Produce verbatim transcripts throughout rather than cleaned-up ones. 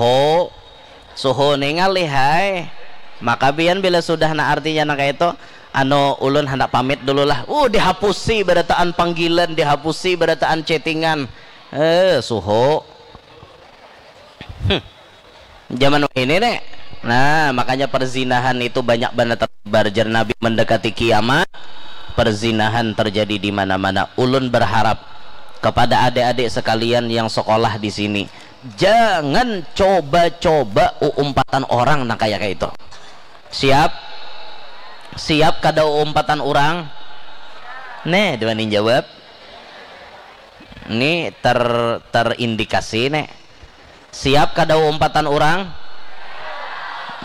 suhu, suhu ningal lihai. Maka pian bila sudah na artinya nang kaitu, anu, ulun handak pamit dulu lah. Uh, dihapusi barataan panggilan, dihapusi barataan chattingan. Eh, suhu. Hmm. Zaman ini nih. Nah, makanya perzinahan itu banyak banget tersebar. Jar Nabi, mendekati kiamat, perzinahan terjadi di mana-mana. Ulun berharap kepada adik-adik sekalian yang sekolah di sini, jangan coba-coba uumpatan orang nang kaya kaitu. Siap? Siap kada uumpatan orang? Nih, dua nih jawab. Ini ter terindikasi nih. Siap kada uumpatan orang?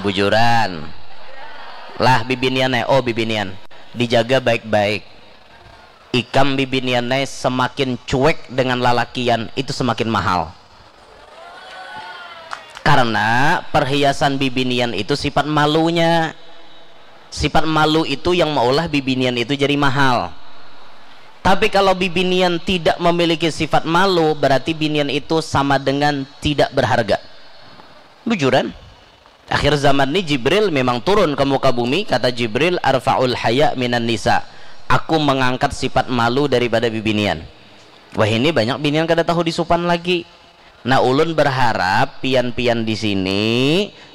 Bujuran. Lah, bibinian eh, oh, bibinian. Dijaga baik-baik. Ikam bibinian eh, semakin cuek dengan lalakian, itu semakin mahal. Karena perhiasan bibinian itu sifat malunya. Sifat malu itu yang maulah bibinian itu jadi mahal. Tapi kalau bibinian tidak memiliki sifat malu, berarti binian itu sama dengan tidak berharga. Bujuran. Akhir zaman ni Jibril memang turun ke muka bumi, kata Jibril, "Arfa'ul haya minan nisa." Aku mengangkat sifat malu daripada bibinian. Wah, ini banyak binian kada tahu disupan lagi. Nah, ulun berharap pian-pian di sini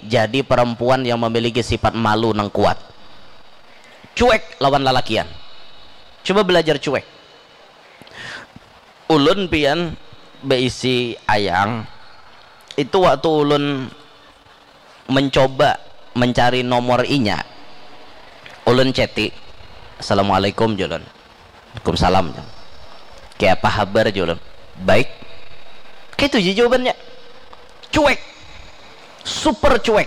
jadi perempuan yang memiliki sifat malu nang kuat. Cuek lawan lalakian. Coba belajar cuek. Ulun pian beisi ayang. Itu waktu ulun mencoba mencari nomor inya. Ulun ceti. "Assalamualaikum," julun. "Waalaikumsalam." "Kaya apa habar?" julun. "Baik." Kaitu ja jawabannya. Cuek. Super cuek.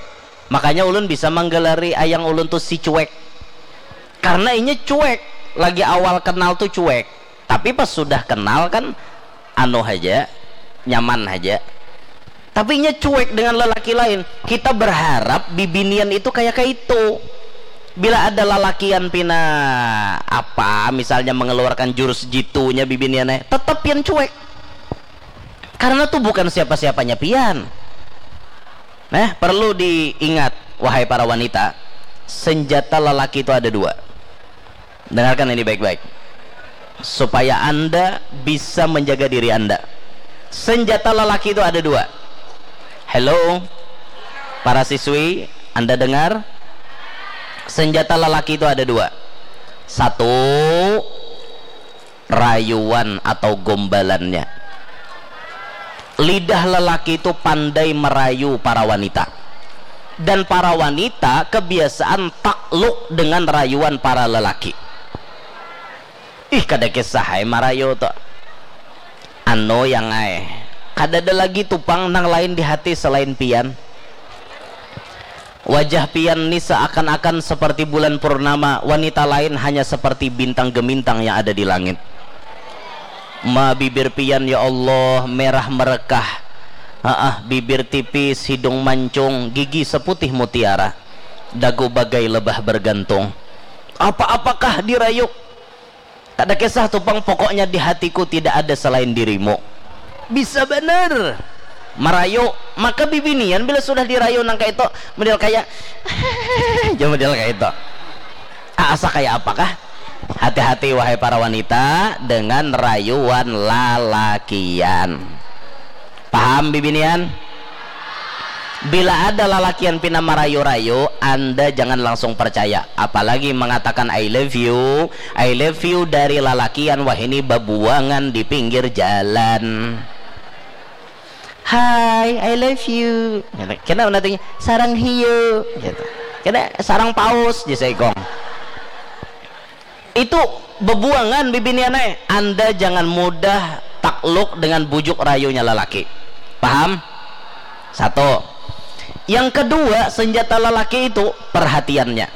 Makanya ulun bisa manggalari ayang ulun tuh si cuek. Karena inya cuek. Lagi awal kenal tuh cuek. Tapi pas sudah kenal kan anu haja, nyaman haja. Tapi inya cuek dengan lelaki lain. Kita berharap bibinian itu kayak kayak itu. Bila ada lalakian pina apa, misalnya mengeluarkan jurus jitunya bibinian eh, tetap pian cuek. Karena tuh bukan siapa-siapanya pian. Nah, perlu diingat, wahai para wanita, senjata lelaki itu ada dua. Dengarkan ini baik-baik. Supaya Anda bisa menjaga diri Anda. Senjata lelaki itu ada dua. Hello? Para siswi, Anda dengar? Senjata lelaki itu ada dua. Satu, rayuan atau gombalannya. Lidah lelaki itu pandai merayu para wanita. Dan para wanita kebiasaan takluk dengan rayuan para lelaki. Ih, kada kisah ai marayu tu. Anu yang ai, kada ada lagi tu pang nang lain di hati selain pian. Wajah pian ni seakan-akan seperti bulan purnama, wanita lain hanya seperti bintang gemintang yang ada di langit. Ma, bibir pian, ya Allah, merah merekah. Haah, bibir tipis, hidung mancung, gigi seputih mutiara, dagu bagai lebah bergantung. Apa-apakah dirayuk? Kada kisah tu pang, pokoknya di hatiku tidak ada selain dirimu. Bisa banar marayu. Maka bibinian bila sudah dirayu nang kaitu, model kaya, jua model kaitu. Ah, asa kaya apakah? Hati-hati, wahai para wanita, dengan rayuan lalakian. Paham, bibinian? Bila ada lalakian pina marayu-rayu, Anda jangan langsung percaya. Apalagi mengatakan "I love you", "I love you" dari lalakian, wahini babuangan di pinggir jalan. "Hai, I love you." Kena nantinya, "Sarang hiu." Gitu. Kena sarang paus, jasa ikong. Itu bebuangan bibinian ai. Anda jangan mudah takluk dengan bujuk rayunya lelaki. Paham? Satu. Yang kedua, senjata lelaki itu perhatiannya.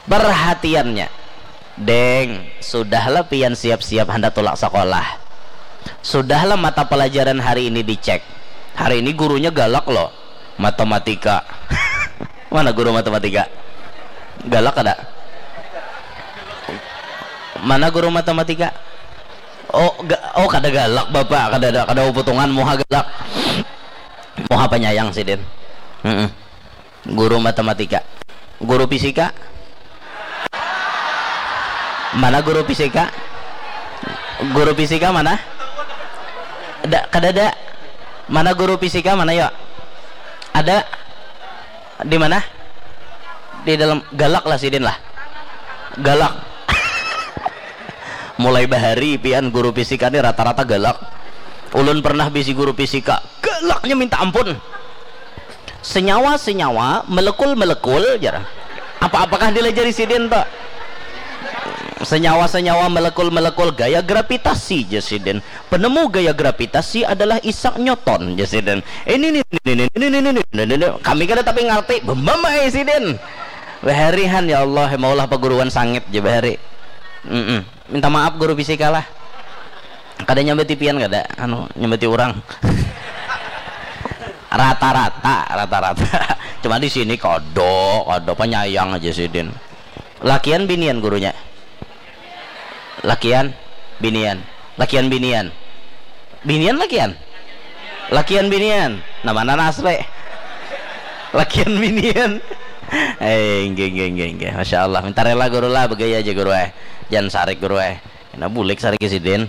Perhatiannya. "Deng, sudahlah pian siap-siap handak tulak sekolah. Sudahlah mata pelajaran hari ini dicek. Hari ini gurunya galak loh. Matematika." Mana guru matematika? Galak kada? Mana guru matematika? Oh, ga, oh, kada galak, Bapak. Kada ada, kada uputungan, muha galak. Penyayang sidin. Mm-mm. Guru matematika. Guru fisika. Mana guru fisika? Guru fisika mana? Ada, kadada. Mana guru fisika mana, yuk? Ada. Di mana? Di dalam. Galak lah sidin lah. Galak. Mulai bahari pian guru fisika ni rata-rata galak. Ulun pernah bisi guru fisika, galaknya minta ampun. Senyawa-senyawa, melekul-melekul, jar. Apa-apakah dilajari sidin tu? Senyawa-senyawa, melekul-melekul, gaya gravitasi, jar sidin. Penemu gaya gravitasi adalah Isaac Newton, jar sidin. Ini, ini, ini, ini, ini, ini, ini, ini, ini. Kami kada tapi ngerti, bemamai sidin. Baharihan, ya Allah, maulah paguruan sangit je bahari. Mm-mm. Minta maaf guru fisika lah. Kada nyambati pian kada, anu, nyambati urang. Rata-rata, rata-rata. Cuma di sini kodo, kodo penyayang aja sidin. Lakian binian gurunya. Lakian binian. Lakian binian. Binian lakian. Lakian binian. Nah, mana nasle? Lakian binian. Eh, inggih, inggih, inggih, inggih. Masya Allah. Minta rela guru lah, begaya aja guru eh. Jangan sarik guru eh. Nah, bulik sarik sidin.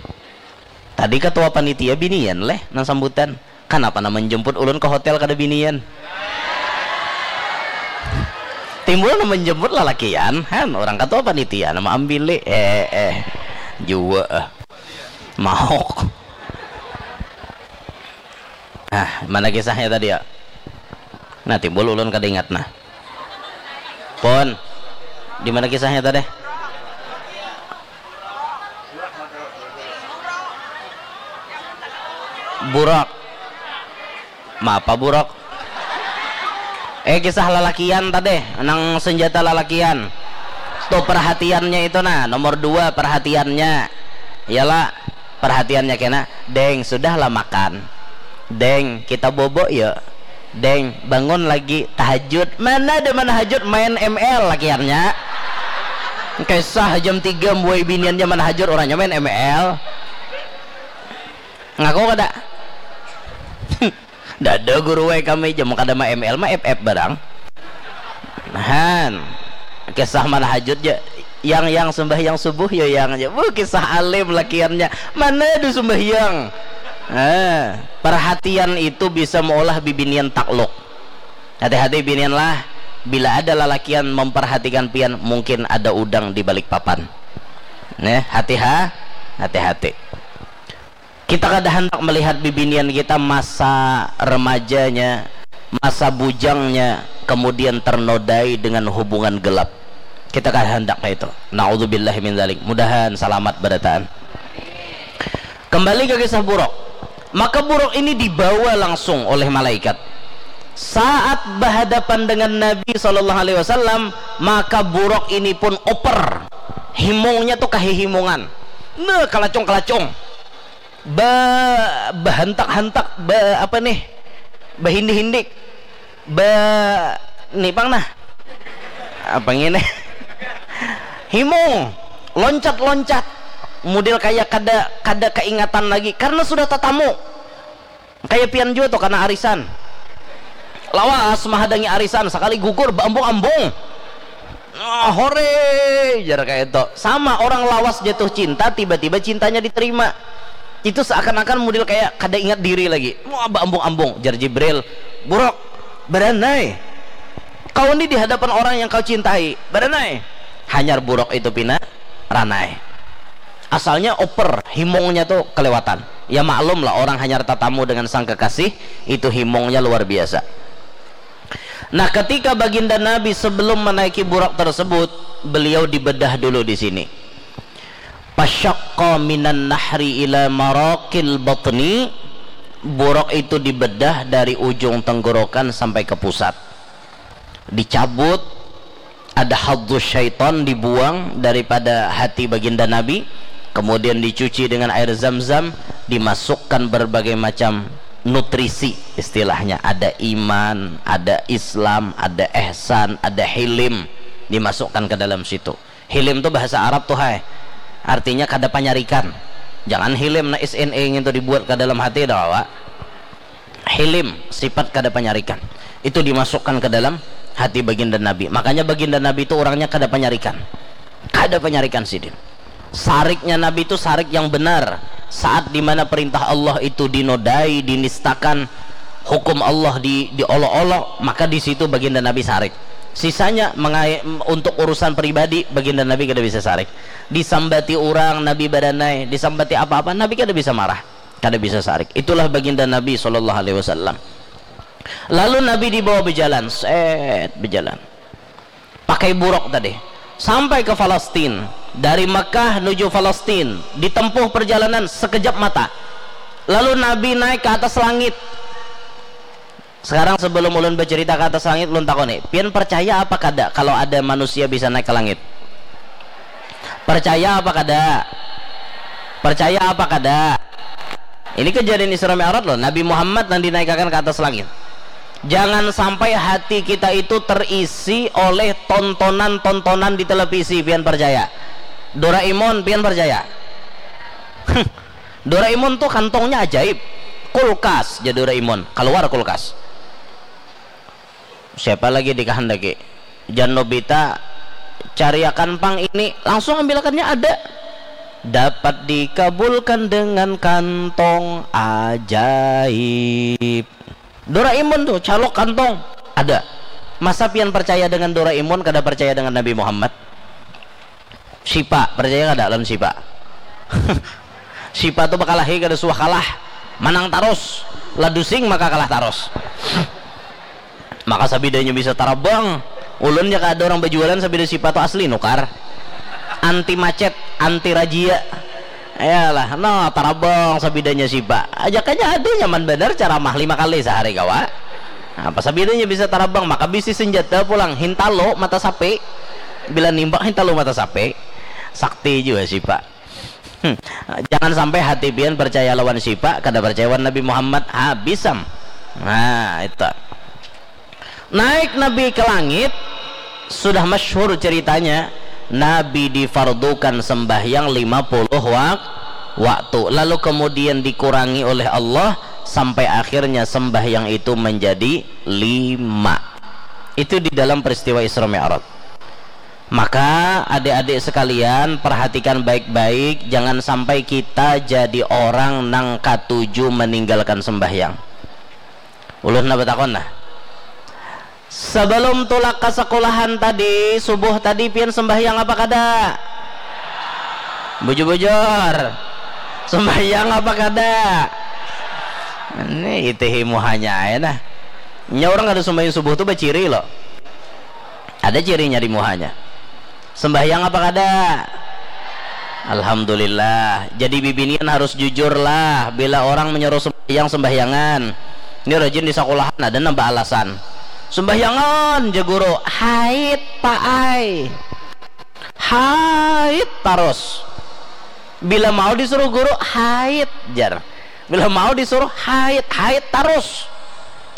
Tadi ketua panitia binian leh nang sambutan. Kanapa nang menjemput ulun ke hotel kada binian? Timbul nang menjemput lalakian, han, orang ketua panitia nama ambili. Eh, eh. Jua eh. Maok. Nah, mana kisahnya tadi ya? Nah, timbul ulun kada ingat nah. Pun, di mana kisahnya tadi? Burok. Mapa burok? Eh, kisah lalakian tadi, nang senjata lalakian. Tuh perhatiannya itu nah, nomor dua perhatiannya. Iyalah, perhatiannya kena, "Deng, sudahlah makan. Deng, kita bobo yuk. Deng, bangun lagi tahajud." Mana ada mana hajud, main M L lakiannya. Kisah jam tiga buai biniannya mana hajud, orangnya main M L. Ngaku kada? Dada guru wae kami, jamu kada ma M L ma F F barang. Nahan. Kisah mana hajut ja. Yang, yang sembahyang subuh ya yang aja. Wuh, kisah alim lakiannya. Mana ada sembahyang? Nah, perhatian itu bisa meolah bibinian takluk. Hati-hati binian lah. Bila ada lalakian memperhatikan pian, mungkin ada udang di balik papan. Nih, hati-ha, hati-hati. Kita kada hendak melihat bibinian kita masa remajanya, masa bujangnya, kemudian ternodai dengan hubungan gelap. Kita kada hendak kayak itu. Naudzubillah min dzalik. Mudahan salamat berataan. Kembali ke kisah buruk. Maka buruk ini dibawa langsung oleh malaikat. Saat berhadapan dengan Nabi Shallallahu Alaihi Wasallam, maka buruk ini pun oper. Himungnya tuh kahihimungan. Nah, kelacung-kelacung. Ba-, bahantak-hantak, ba-, apa nih? Bahindik-hindik. Ba-, nih pang nah. Apa ngini? Himung, loncat-loncat. Model kayak kada, kada keingatan lagi karena sudah tatamu. Kayak pian jua tuh kana arisan. Lawas mahadangi arisan, sakali gugur baambung-ambung. Oh, hore, jar kayak itu. Sama orang lawas jatuh cinta, tiba-tiba cintanya diterima. Itu seakan-akan model kayak kada ingat diri lagi. Wah, baambung-ambung, jar Jibril. Buruk, beranai. Kau ini di hadapan orang yang kau cintai, beranai. Hanyar buruk itu pina ranai. Asalnya oper, himungnya tuh kelewatan. Ya maklum lah, orang hanyar tatamu dengan sang kekasih, itu himungnya luar biasa. Nah, ketika baginda Nabi sebelum menaiki buruk tersebut, beliau dibedah dulu di sini. Pasyakka minan nahri ila maraqil batni, buruk itu dibedah dari ujung tenggorokan sampai ke pusat. Dicabut, ada hadzus syaitan dibuang daripada hati baginda Nabi, kemudian dicuci dengan air zam-zam, dimasukkan berbagai macam nutrisi, istilahnya ada iman, ada Islam, ada ihsan, ada hilim, dimasukkan ke dalam situ. Hilim tu bahasa Arab tuh hai, artinya kada panyarikan. Jangan hilim na S N A ngintu dibuat ke dalam hati dah, awak. Hilim, sifat kada panyarikan. Itu dimasukkan ke dalam hati baginda Nabi. Makanya baginda Nabi itu orangnya kada panyarikan. Kada panyarikan sidin. Sariknya Nabi itu sarik yang benar. Saat dimana perintah Allah itu dinodai, dinistakan, hukum Allah di, diolok-olok, maka di situ baginda Nabi sarik. Sisanya mengai- untuk urusan pribadi, baginda Nabi kada bisa sarik. Disambati orang, Nabi badanai, disambati apa-apa, Nabi kada bisa marah. Kada bisa sarik. Itulah baginda Nabi sallallahu alaihi wasallam. Lalu Nabi dibawa berjalan, set, berjalan. Pakai buruk tadi. Sampai ke Palestin. Dari Mekah nuju Palestin, ditempuh perjalanan sekejap mata. Lalu Nabi naik ke atas langit. Sekarang sebelum ulun bercerita ke atas langit, ulun takoni, pian percaya apa kada kalau ada manusia bisa naik ke langit? Percaya apa kada? Percaya apa kada? Ini kejadian Isra Mi'raj loh, Nabi Muhammad yang dinaikakan ke atas langit. Jangan sampai hati kita itu terisi oleh tontonan-tontonan di televisi, pian percaya? Doraemon, pian percaya? Doraemon tuh kantongnya ajaib. Kulkas, jadi Doraemon, keluar kulkas. Siapa lagi dikahandaki? Jan Nobita, cariakan pang ini, langsung ambilakannya ada. Dapat dikabulkan dengan kantong ajaib. Doraemon tuh, calok kantong, ada. Masa pian percaya dengan Doraemon, kada percaya dengan Nabi Muhammad? Sipa, percaya kada lawan Sipa? Sipa tuh bakalahi kada suah kalah, manang tarus, ladusing maka kalah tarus. Maka sabidanya bisa tarabang. Ulun ya kada orang berjualan sabida Sipa tuh asli nukar. Anti macet, anti razia. Yalah, no, tarabang sabidanya Sipa. Ajakannya ada nyaman benar ceramah lima kali sehari kawa. Apa sabidanya bisa tarabang, maka bisi senjata pulang, hintalo mata sapi. Bila nimbak hintalo mata sapi. Sakti juga Sipa. Hmm. Jangan sampai hati pian percaya lawan Sipa, kada percaya lawan Nabi Muhammad, habis am. Nah, itu. Naik Nabi ke langit, sudah masyhur ceritanya, Nabi difardukan sembahyang lima puluh wak-, waktu, lalu kemudian dikurangi oleh Allah sampai akhirnya sembahyang itu menjadi lima. Itu di dalam peristiwa Isra Mi'raj. Maka adik-adik sekalian, perhatikan baik-baik, jangan sampai kita jadi orang nang katuju meninggalkan sembahyang. Ulun nah batakon nah. Sebelum tulak ka sekolahan tadi, subuh tadi pian sembahyang apa kada? Bujur-bujur. Sembahyang apa kada? Ini itihi muhanya aja nah. Nya orang kada sembahyang subuh tuh baciri loh. Ada cirinya di muhanya. Sembahyang apa kada? Alhamdulillah. Jadi bibinian harus jujur lah. Bila orang menyuruh sembahyang, sembahyangan. Ini rajin di sekolahan, ada nambah alasan. Sembahyangan, je guru. Haid, Pak ai. Haid terus. Bila mau disuruh guru, haid, jar. Bila mau disuruh haid, haid terus.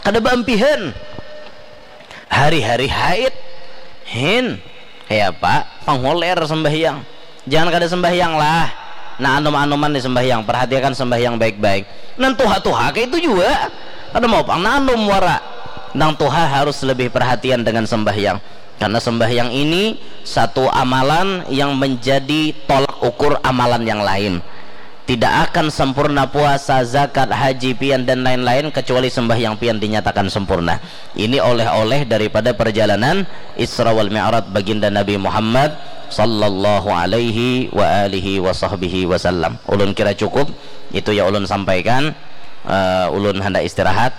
Kada baampihan. Hari-hari haid. Hin. Kaya apa? Panghuler sembahyang. Jangan kada sembahyang lah. Nah, anum-anuman di sembahyang. Perhatikan sembahyang baik-baik. Nang tuha-tuha kayak itu juga. Kada mau pang nah anum wara. Nang tuha harus lebih perhatian dengan sembahyang. Karena sembahyang ini satu amalan yang menjadi tolak ukur amalan yang lain. Tidak akan sempurna puasa, zakat, haji pian, dan lain-lain kecuali sembahyang pian dinyatakan sempurna. Ini oleh-oleh daripada perjalanan Isra wal Mi'raj baginda Nabi Muhammad sallallahu alaihi wa alihi wa sahbihi wasallam. Ulun kira cukup, itu ya ulun sampaikan. Eh, ulun hendak istirahat.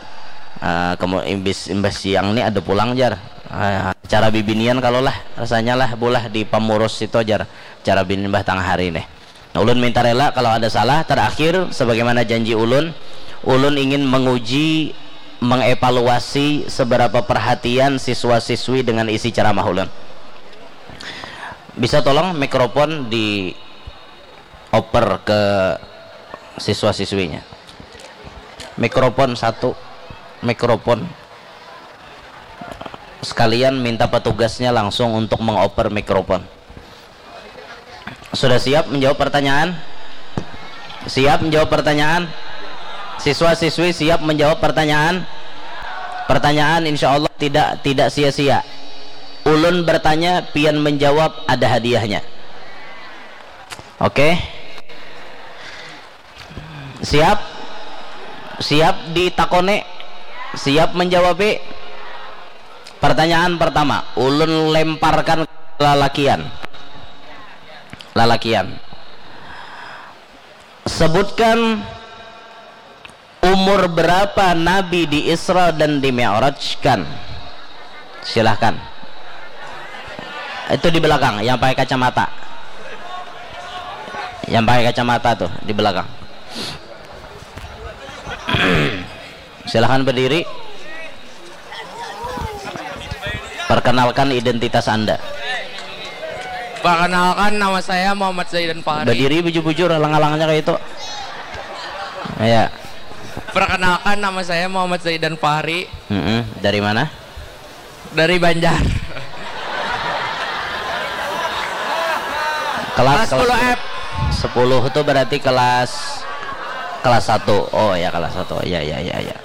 Eh, kamu imbis, imbas siang ni ada pulang jar. Eh, cara bibinian kalau lah, rasanya lah bulah di pamurus situ jar. Cara binian bah tangah hari nih. Nah, ulun minta rela kalau ada salah. Terakhir, sebagaimana janji ulun, ulun ingin menguji, mengevaluasi seberapa perhatian siswa-siswi dengan isi ceramah ulun. Bisa tolong mikrofon di oper ke siswa-siswinya? Mikrofon satu, mikrofon. Sekalian minta petugasnya langsung untuk mengoper mikrofon. Sudah siap menjawab pertanyaan? Siap menjawab pertanyaan? Siswa-siswi siap menjawab pertanyaan? Pertanyaan insya Allah tidak, tidak sia-sia. Ulun bertanya, pian menjawab, ada hadiahnya. Oke. Siap? Siap ditakoni? Siap menjawabi? Pertanyaan pertama, ulun lemparkan lalakian. Lalakian. Sebutkan umur berapa Nabi di Isra dan di Mi'rajkan. Silahkan. Itu di belakang, yang pakai kacamata. Yang pakai kacamata tuh, di belakang. Silahkan berdiri. Perkenalkan identitas Anda. Perkenalkan, nama saya Muhammad Zaidan Fahri. Berdiri bujur-bujur, alang-alangnya kayak itu. Ya. Perkenalkan, nama saya Muhammad Zaidan Fahri. Mm-mm. Dari mana? Dari Banjar. Kelas, kelas sepuluh F. Sepuluh itu berarti kelas kelas satu. Oh ya, kelas satu. Ya, ya, ya, ya.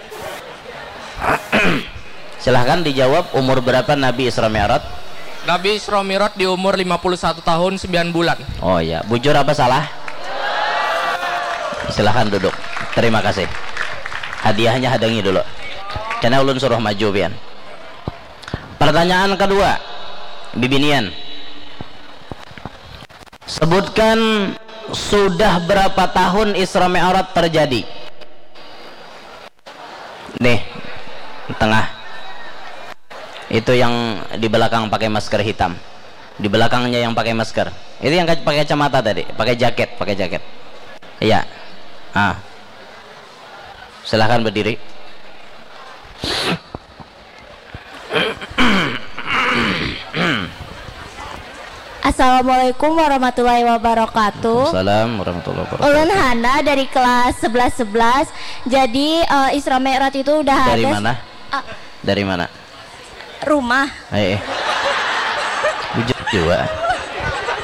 Silahkan dijawab, umur berapa Nabi Isra Mi'raj? Nabi Isra Mi'raj di umur lima puluh satu tahun sembilan bulan. Oh ya, bujur apa salah? Silahkan duduk. Terima kasih. Hadiahnya hadangi dulu. Karena ulun suruh maju pian. Pertanyaan kedua, bibinian. Sebutkan sudah berapa tahun Isra Mi'raj terjadi? Nih, tengah. Itu yang di belakang pakai masker hitam. Di belakangnya yang pakai masker. Itu yang pakai kacamata tadi, pakai jaket, pakai jaket. Iya. Ah. Silahkan berdiri. Assalamualaikum warahmatullahi wabarakatuh. Salam warahmatullahi wabarakatuh. Ulun Hana dari kelas sebelas sebelas. Jadi uh, Isra Mi'raj itu udah Dari ada mana? Uh, Dari mana? Rumah. Eh, eh. Bujur juga.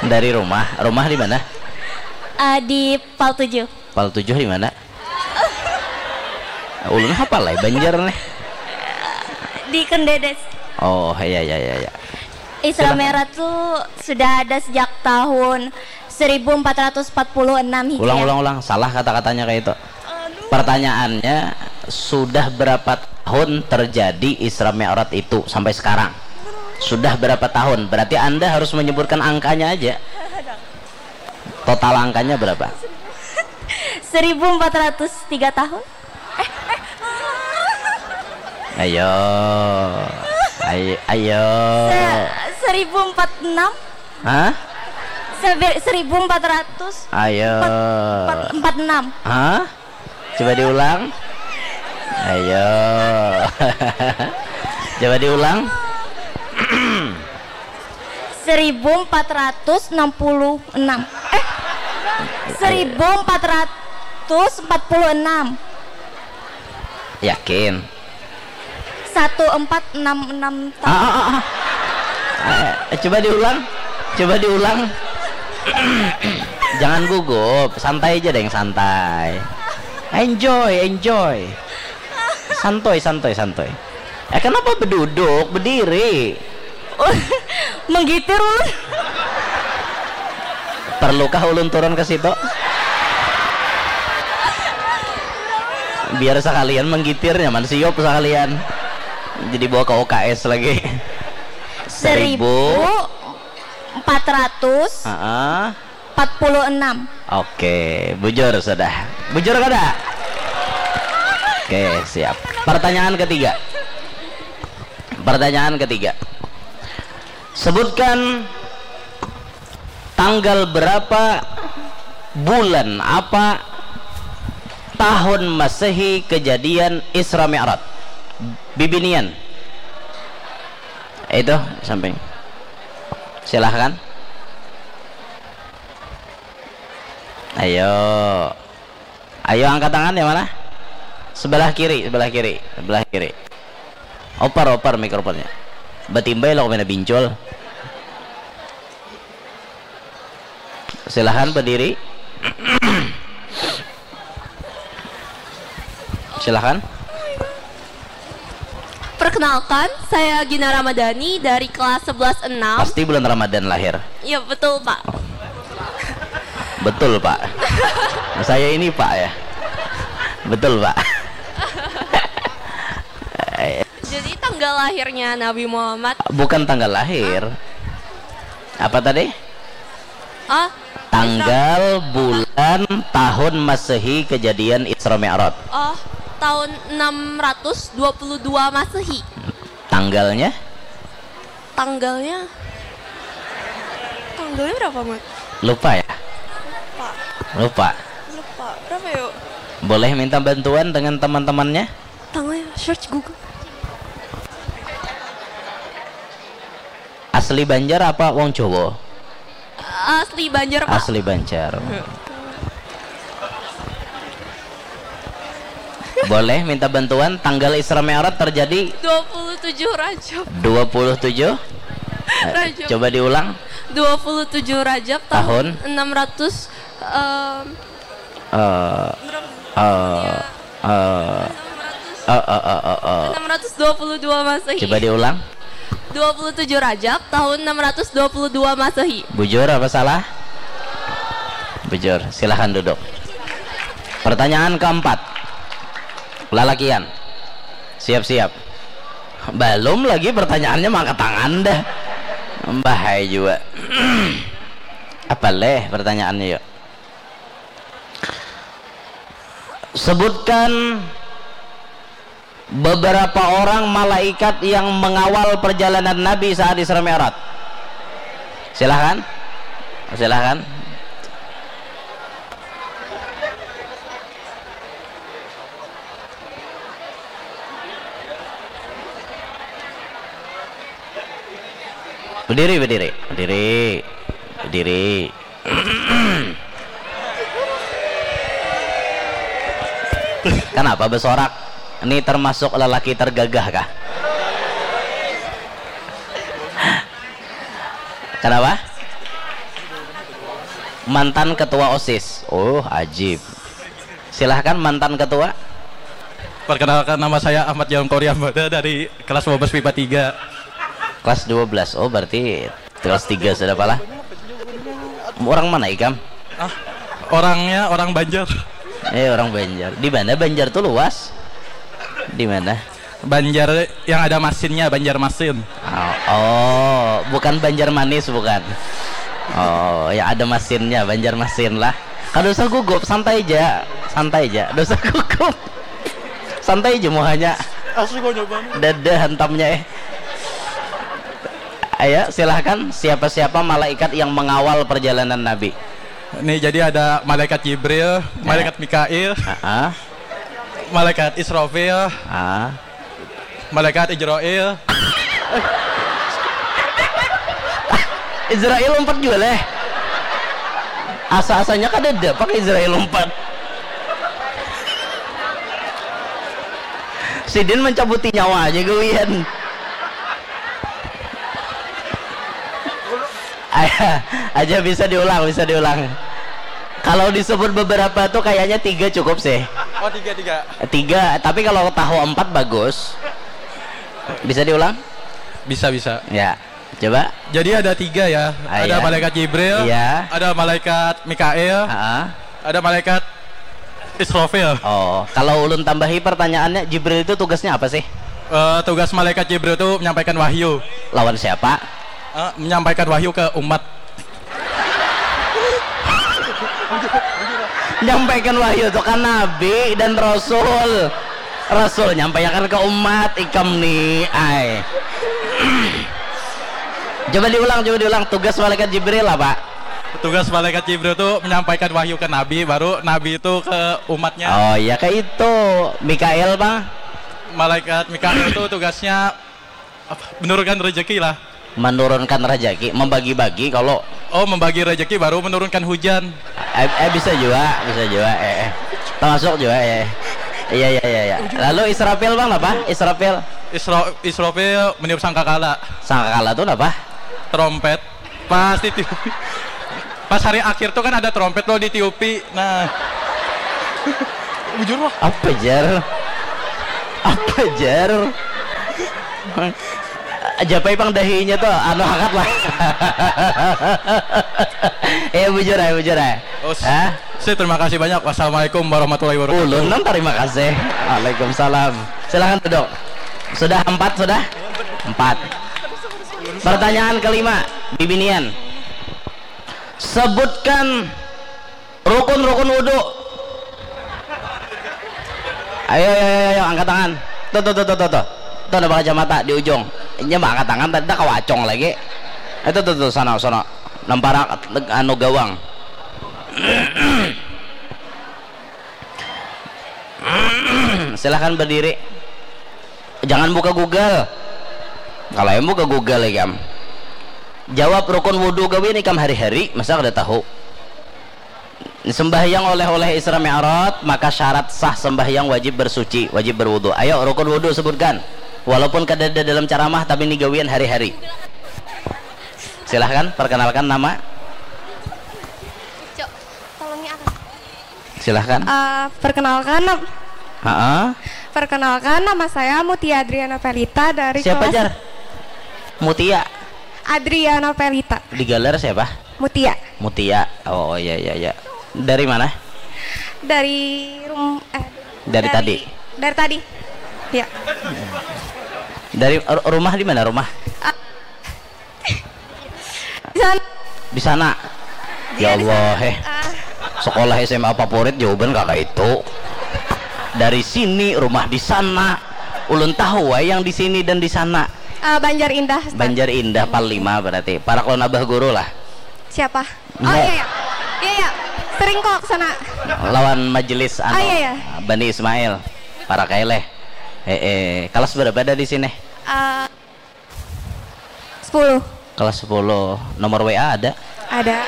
Dari rumah. Rumah di mana? Uh, di Pal tujuh. Pal tujuh di mana? Ulun hafal lah Banjar nih. Di Kendedes. Oh, iya iya iya iya. Isra Mi'raj tuh sudah ada sejak tahun seribu empat ratus empat puluh enam Hijriah. Ulang ulang ulang, salah kata-katanya kayak itu. Pertanyaannya, sudah berapa tahun terjadi Isra Mi'raj itu sampai sekarang? Sudah berapa tahun? Berarti Anda harus menyebutkan angkanya aja. Total angkanya berapa? seribu empat ratus tiga tahun. Ayo. Ayo. Ayo. Se- seribu empat enam. Hah? Sebe- seribu empat ratus. Ayo. Empat, empat enam. Hah? Coba diulang. Ayo. Coba diulang. seribu empat ratus enam puluh enam. Eh, seribu empat ratus empat puluh enam. Yakin? Satu empat enam enam tahun. Ah, ah, ah. Eh, coba diulang. Coba diulang. Jangan gugup, santai aja deh yang santai. Enjoy, enjoy. Santuy, santuy, santuy. Eh, kenapa beduduk, bediri? Menggitir ulun. Perlukah ulun turun ke situ? Biar sekalian menggitir, nyaman siup sekalian. Jadi bawa ke U K S lagi. Seribu empat ratus Heeh. Empat puluh enam. Oke, bujur sudah. Bujur kada? Oke, siap. Pertanyaan ketiga. Pertanyaan ketiga. Sebutkan tanggal berapa, bulan apa, tahun Masehi kejadian Isra Mi'raj. Bibinian. Itu samping. Silahkan. Ayo. Ayo angkat tangan yang mana? Sebelah kiri, sebelah kiri, sebelah kiri. Oper, oper mikrofonnya. Batimbai lo kemana bincul. Silahkan berdiri. Silakan. Perkenalkan, saya Gina Ramadhani dari kelas sebelas enam. Pasti bulan Ramadan lahir. Iya, betul, Pak. Betul, Pak. Saya ini, Pak, ya. Betul, Pak. Jadi tanggal lahirnya Nabi Muhammad. Bukan tanggal lahir. Apa tadi? Oh, Tanggal, bulan, tahun Masehi kejadian Isra Mi'raj. Oh, tahun enam ratus dua puluh dua Masehi. Tanggalnya? Tanggalnya. Tanggalnya berapa, Mat? Lupa ya? Lupa. Lupa. Lupa. Berapa yuk? Boleh minta bantuan dengan teman-temannya? Tanggalnya search Google. Asli Banjar apa wong Jawa? Asli Banjar, Pak. Asli Banjar. Boleh minta bantuan, tanggal Isra Mi'raj terjadi dua puluh tujuh Rajab. Dua puluh tujuh? Rajab. Coba diulang. Dua puluh tujuh Rajab tahun, tahun enam ratus um, uh, uh, uh, uh, uh, uh, uh, uh. enam ratus dua puluh dua Masehi. Coba diulang. Dua puluh tujuh Rajab tahun enam ratus dua puluh dua Masehi. Bujur apa salah? Bujur. Silahkan duduk. Pertanyaan keempat. Lalakian. Siap-siap. Belum lagi pertanyaannya maka tangan dah. Bahaya juga. Apa leh pertanyaannya yuk? Sebutkan beberapa orang malaikat yang mengawal perjalanan Nabi saat Isra Mi'raj. Silahkan. Silahkan. Berdiri, berdiri, berdiri, berdiri. Kenapa bersorak? Ini termasuk lelaki tergagah kah? Kenapa? Mantan ketua OSIS. Oh, ajib. Silahkan mantan ketua. Perkenalkan, nama saya Ahmad Jalangkori Amada dari kelas dua belas MIPA tiga. Kelas dua belas. Oh, berarti kelas tiga sudah pala. Orang mana ikam? Ah, orangnya orang Banjar. Eh, orang Banjar. Di mana Banjar tuh luas? Di mana? Banjar yang ada masinnya, Banjarmasin. Oh, oh, bukan Banjar Manis, bukan. Oh, yang ada masinnya, Banjarmasin lah. Kada usah gugup, santai aja. Santai aja. Kada usah gugup. Santai aja muhanya. Asli kau nyoba. Dada hantamnya eh. Ayo, silahkan. Siapa-siapa malaikat yang mengawal perjalanan Nabi? Nih, jadi ada malaikat Jibril, ya. Malaikat Mikail, uh -uh. Malaikat Israfil, uh. Malaikat Ijroil. Izrail umpat jua leh. Asa-asanya kada ada pakai Izrail umpat. Sidin mencabuti nyawa aja gawian. Aja, aja bisa diulang, bisa diulang. Kalau disebut beberapa tuh kayaknya tiga cukup sih. Oh, tiga, tiga. Tiga, tapi kalau tahu empat bagus. Bisa diulang? Bisa, bisa. Ya, coba. Jadi ada tiga ya. Ah, ada ya. Malaikat Jibril, ya. Ada malaikat Mikael, ah. Ada malaikat Israfil. Oh, kalau ulun tambahi pertanyaannya, Jibril itu tugasnya apa sih? Uh, tugas malaikat Jibril itu menyampaikan wahyu. Lawan siapa? Uh, menyampaikan wahyu ke umat. Nyampaikan wahyu itu kan nabi dan rasul. Rasul nyampaikan ke umat ikam nih, ai. Coba diulang, coba diulang. Tugas malaikat Jibril apa? Tugas malaikat Jibril itu menyampaikan wahyu ke nabi, baru nabi itu ke umatnya. Oh iya, kayak itu. Mikael, Bang. Malaikat Mikael itu tugasnya apa? Menurunkan rezeki lah. Menurunkan rezeki, membagi-bagi kalau. Oh, membagi rezeki baru menurunkan hujan. Eh, eh bisa juga, bisa juga. Eh, eh. Termasuk juga ya. Iya, iya, iya, iya. Lalu Israfil, Bang, apa? Israfil. Isra Israfil meniup sangkakala. Sangkakala tuh apa? Trompet. Pas ditiupi. Pas hari akhir tuh kan ada trompet lo ditiupi. Nah. Bujur lah. Apa jar? Apa jar? Japai pang dahinya tuh, anu, angkat lah. Eh, bujur ya, bujur ya. Us, Hah? Saya terima kasih banyak. Wassalamualaikum warahmatullahi wabarakatuh. Ulun nang terima kasih. Waalaikumsalam. Silahkan duduk. Sudah empat, sudah? Empat. Pertanyaan kelima, bibinian. Sebutkan rukun-rukun wudhu. Ayo, ayo, ayo, ayo, angkat tangan. Tuh, tuh, tuh, tuh, tuh, tuh. Tuh, ada kacamata di ujung. Ini mah angkat tangan, tadi dah kawacong lagi. Itu tuh, tuh, sana, sana. Namparak, anu, gawang. Silahkan berdiri. Jangan buka Google. Kalau yang buka Google, ikam jawab rukun wudhu gawian ikam hari-hari, masa kada tahu? Sembahyang oleh-oleh Isra Mi'raj, maka syarat sah sembahyang wajib bersuci, wajib berwudhu. Ayo, rukun wudhu sebutkan. Walaupun kada ada dalam ceramah, tapi ini gawian hari-hari. Silahkan, perkenalkan nama. Cok, tolongnya apa? Silahkan. Eh, perkenalkan, nam- Heeh. Perkenalkan, nama saya Mutia Adriana Pelita dari Siapa, kelas jar? Mutia. Adriana Pelita. Digalar siapa? Mutia. Mutia. Oh, iya, iya, iya. Dari mana? Dari rum eh, Dari tadi? Dari tadi. Ya. Dari ru- rumah di mana rumah? Di sana. Di sana. Ya Iya, di Allah, sana. Eh. Ah. Sekolah S M A favorit jawaban kakak itu. Dari sini, rumah di sana. Ulun tahu wae yang di sini dan di sana. Eh, Banjar Indah. Ustaz. Banjar Indah, Pal lima berarti. Parak lawan abah guru lah. Siapa? Oh, Enggak. Iya, iya. Iya, iya. Sering kok ke sana. Lawan majelis anu, Ah, iya, iya. Bani Ismail. Parak ae leh. Eh, eh, kelas berapa ada di sini? Eh, sepuluh. Kelas sepuluh. Nomor W A ada? Ada.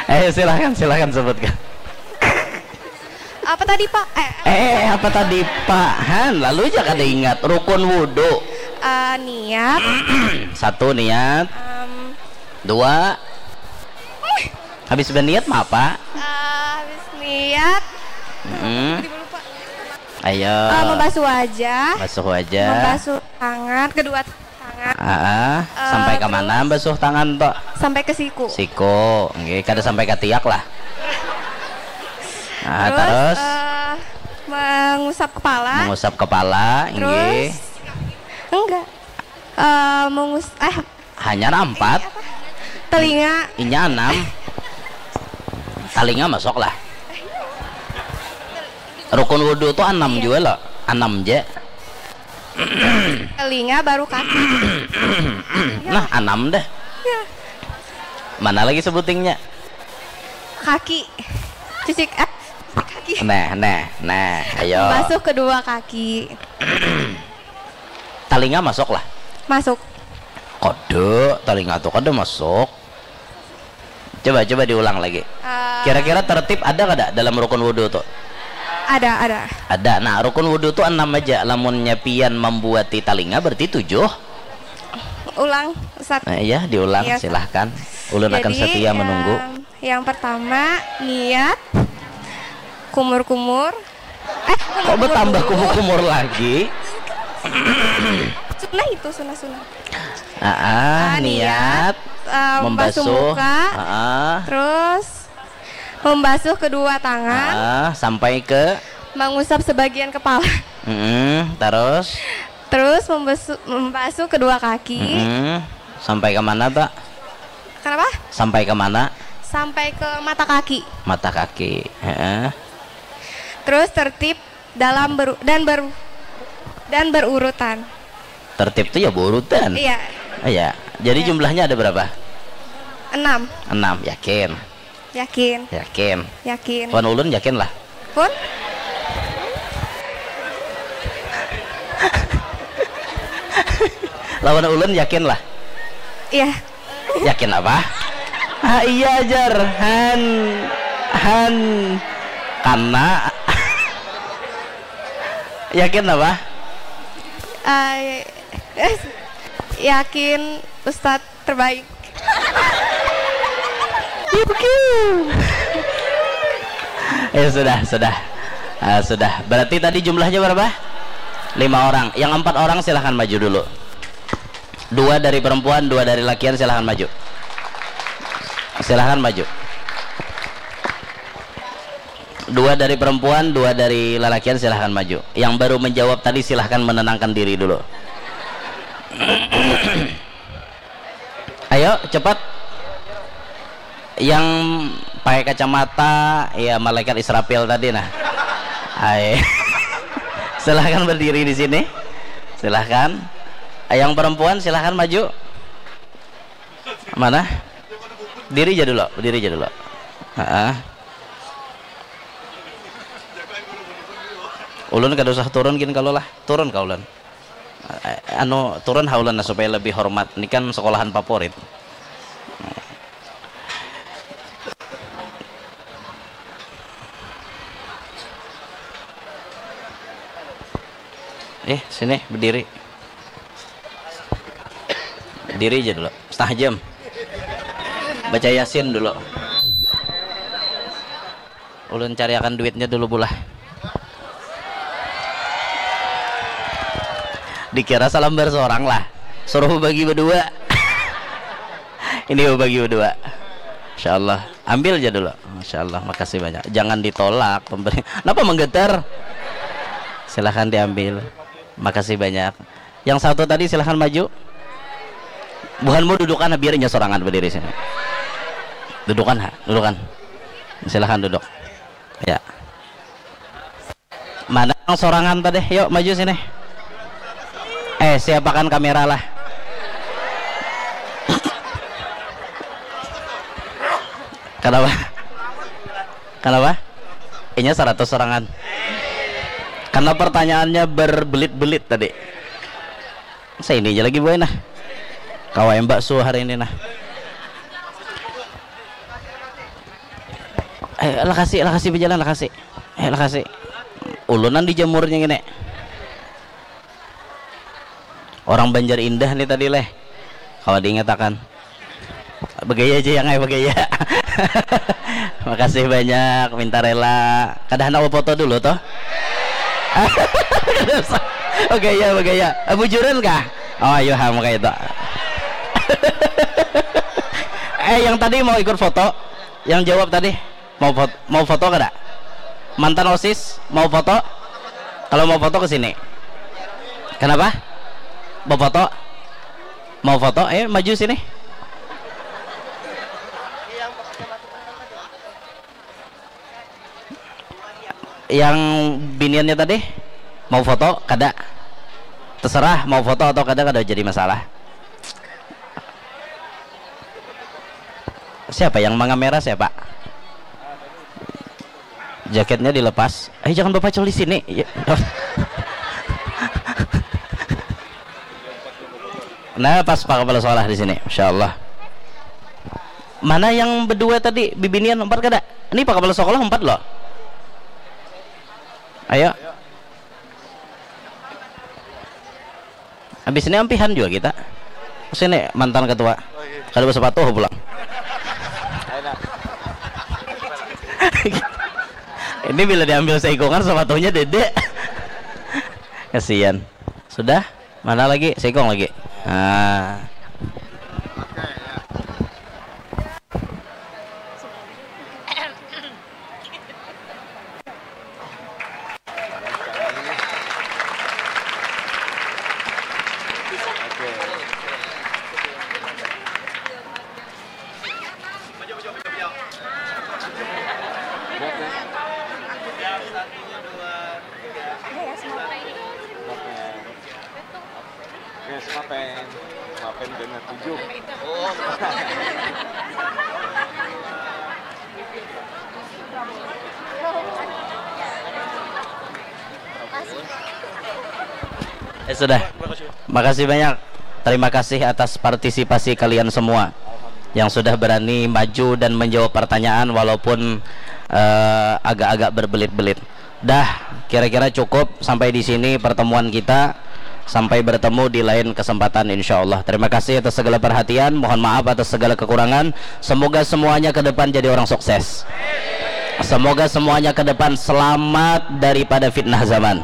Eh, silahkan, silahkan sebutkan. Apa tadi, Pak? Eh, Eh, apa tadi, Pak? Han, lalu aja kada ingat. Rukun wudhu. eh, niat. Satu, niat. Em, Dua. Habis berniat mah apa? eh, habis niat. Mm-mm. Tiba lupa. Ayo. Eh, membasuh wajah. Basuh wajah. Membasuh tangan, kedua tangan. Ah, ah. Eh, Sampai ke mana terus- basuh tangan toh? Sampai ke siku. Siku, nggih, kada sampai ke tiak lah. Ah, Terus, terus eh, mengusap kepala. Mengusap kepala, nggih. Terus enggak. Eh, mengus eh Hanya empat, telinga. Inya enam. Talinga masuk lah. Rukun wudhu tuh enam juga loh, enam je. Telinga baru kaki. Nah, enam dah. Ya, Mana lagi sebutingnya? kaki. Cuci eh, kaki. Nah, nah, nah, ayo. Basuh kedua kaki. Talinga masuk lah. Masuk. Kada, talinga tuh kada masuk. Coba, coba diulang lagi. Eh, Kira-kira tertib ada kada dalam rukun wudhu tuh? Ada, ada. Ada. Nah, rukun wudhu tuh enam aja. Lamunnya pian membuati talinga berarti tujuh. Ulang, Ustaz. Nah, iya, diulang, Iya, Ustaz. Silahkan. Ulun akan Jadi, setia yang, menunggu. Yang pertama, niat, kumur-kumur. Eh, Kok bertambah kumur-kumur lagi? Sunnah itu, sunnah-sunnah. Ah, ah, Ah, niat, eh, membasuh membasuh, muka, ah, ah, terus membasuh kedua tangan, ah, sampai ke, mengusap sebagian kepala, mm, terus, terus membasuh, membasuh kedua kaki. Mm-mm. Sampai ke mana, Pak? Kenapa? Sampai ke mana? Sampai ke mata kaki. Mata kaki. Heeh. Terus tertib dalam beru- dan ber- dan berurutan. Tertib tuh ya berurutan. Iya. Iya. Jadi Iya. Jumlahnya ada berapa? Enam. Enam, yakin. Yakin. Yakin. Yakin. Wan ulun yakin lah. Pun? Lawan ulun yakin lah. Iya. Yakin apa? Ah, iya, jar. Han. Han. Karena. Yakin apa? Eh, yakin Ustadz terbaik. Ya sudah, sudah. Ah, sudah. Berarti tadi jumlahnya berapa? Lima orang. Yang empat orang silahkan maju dulu. Dua dari perempuan, dua dari lakian, silahkan maju. Silahkan maju. Dua dari perempuan, dua dari lalakian, silahkan maju. Yang baru menjawab tadi, silahkan menenangkan diri dulu. Ayo, cepat. Yang pakai kacamata, ya, malaikat Israfil tadi, nah. Hai. Silahkan berdiri di sini. Silahkan. Yang perempuan, silahkan maju. Mana? Diri aja dulu, berdiri aja dulu. Heeh. Ulun kada usah turun gin kalau lah. Turun kah ulun? Eh, anu, turun ha ulun lah supaya lebih hormat. Ini kan sekolahan favorit. Eh, sini berdiri. Diri aja dulu, setengah jam. Baca Yasin dulu. Ulun cariakan duitnya dulu, bulah. Dikira salambar seorang lah. Suruh bagi berdua. Ini bagi berdua. Masya Allah. Ambil aja dulu. Masya Allah, makasih banyak. Jangan ditolak pemberi. Kenapa menggetar? Silahkan diambil. Makasih banyak. Yang satu tadi silahkan maju. Buhanmu dudukan, biar inya sorangan berdiri sini. Dudukan, ha, dudukan. Silahkan duduk. Ya. Mana yang sorangan tadi? Yuk maju sini. Eh, siapakan kamera lah. Kenapa? Kenapa? Inya seratus sorangan. Karena pertanyaannya berbelit-belit tadi. Saya ini aja lagi buai nah. Kawa yang bakso hari ini nah. Eh, lakasi, lakasi berjalan, lakasi. Eh, lakasi. Ulunan dijamurnya gini. Orang Banjar Indah nih tadi leh. Kalau diingatakan. Begaya aja yang ai begaya. Makasih banyak, minta rela. Kada handak foto dulu toh? Begaya, begaya. Ah, bujuran kah? Oh, ayo ham kayak itu. Eh, yang tadi mau ikut foto, yang jawab tadi mau foto, mau foto kada? Mantan osis mau foto? Kalau mau foto ke sini. Kenapa? Mau foto? Mau foto? Eh, maju sini. Yang biniannya tadi mau foto? Kada. Terserah mau foto atau kada, kada jadi masalah. Siapa yang mengamera siapa? Jaketnya dilepas. Ayo, jangan bapacul di sini. Ya. Nah, pas Pak Kepala Sekolah di sini, Masya Allah. Mana yang berdua tadi, bibinian empat kada? Ini Pak Kepala Sekolah empat loh. Ayo. Habis ini ampihan juga kita. Sini mantan ketua. Kada bersepatu pulang. Ini bila diambil seikungan sepatunya dede. Kasihan. Sudah? Mana lagi? Seikung lagi. Nah. Oke, semapen. Semapen dengan tujuh. Eh, sudah. Makasih banyak. Terima kasih atas partisipasi kalian semua yang sudah berani maju dan menjawab pertanyaan walaupun, eh, agak-agak berbelit-belit. Dah, kira-kira cukup sampai di sini pertemuan kita. Sampai bertemu di lain kesempatan, insya Allah. Terima kasih atas segala perhatian. Mohon maaf atas segala kekurangan. Semoga semuanya ke depan jadi orang sukses. Semoga semuanya ke depan selamat daripada fitnah zaman.